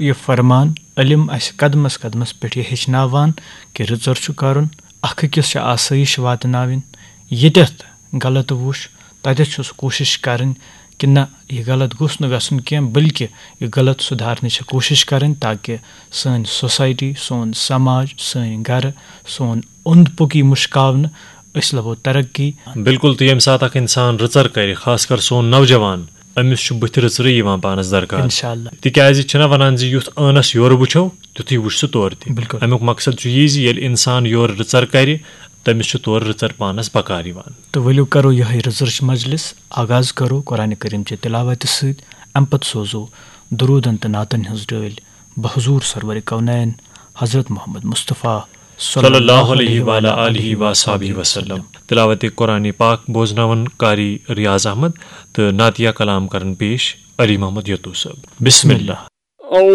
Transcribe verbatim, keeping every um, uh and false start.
یہِ فرمان علم اسہِ قدمس قدمس پٮ۪ٹھ یہِ ہیٚچھناوان کہِ رٕژر چھُ کرُن، اکھ أکِس چھِ آسٲیِش واتناوٕنۍ۔ ییٚتٮ۪تھ غلط وُچھ، تتٮ۪تھ چھُ سُہ کوٗشش کرٕنۍ کہِ نہ، یہِ غلط گوٚژھ نہٕ گژھُن کینٛہہ، بلکہِ یہِ غلط سُدھارنٕچ چھِ کوٗشش کرٕنۍ، تاکہِ سٲنۍ سوسایٹی، سون سماج، سٲنۍ گرٕ، سون اوٚنٛد پوٚک یی مُشکاونہٕ، أسۍ لبو ترقی۔ بِلکُل، تہٕ ییٚمہِ ساتہٕ اکھ انسان رٕژر کرِ، خاص کر سون نوجوان، أمِس چھُ بٕتھِ رٕژرٕے یِوان پانس درکار۔ انشاءاللہ۔ تِکیازِ چھِنہ ونان زِ یُتھ ٲنس یورٕ وٕچھو، تیُتھُے وٕچھ سُہ تورٕ تہِ۔ بِلکُل۔ امیُک مقصد چھُ یی زِ ییٚلہِ انسان یورٕ رٕژر کرِ، تٔمِس چھُ تورٕ رٕژر پانس بکار یِوان۔ تہٕ ؤلِو کرو یِہوٚے رٕژرٕچ مجلس آغاز کرو قرآن کریم چہِ تلاوتہِ سۭتۍ۔ امہِ پتہٕ سوزو درودن تہٕ نعتن ہٕنٛز ڈٲلۍ بحضور سرور کونین حضرت محمد مصطفیٰ صلی اللہ علیہ وعلی آلہ وصحبہ وسلم۔ تلاوت قرآن پاک بوزناون قاری ریاض احمد تہٕ نعتیہ کلام کرن پیش علی محمد یتو صٲب۔ بسم اللہ۔ أعوذ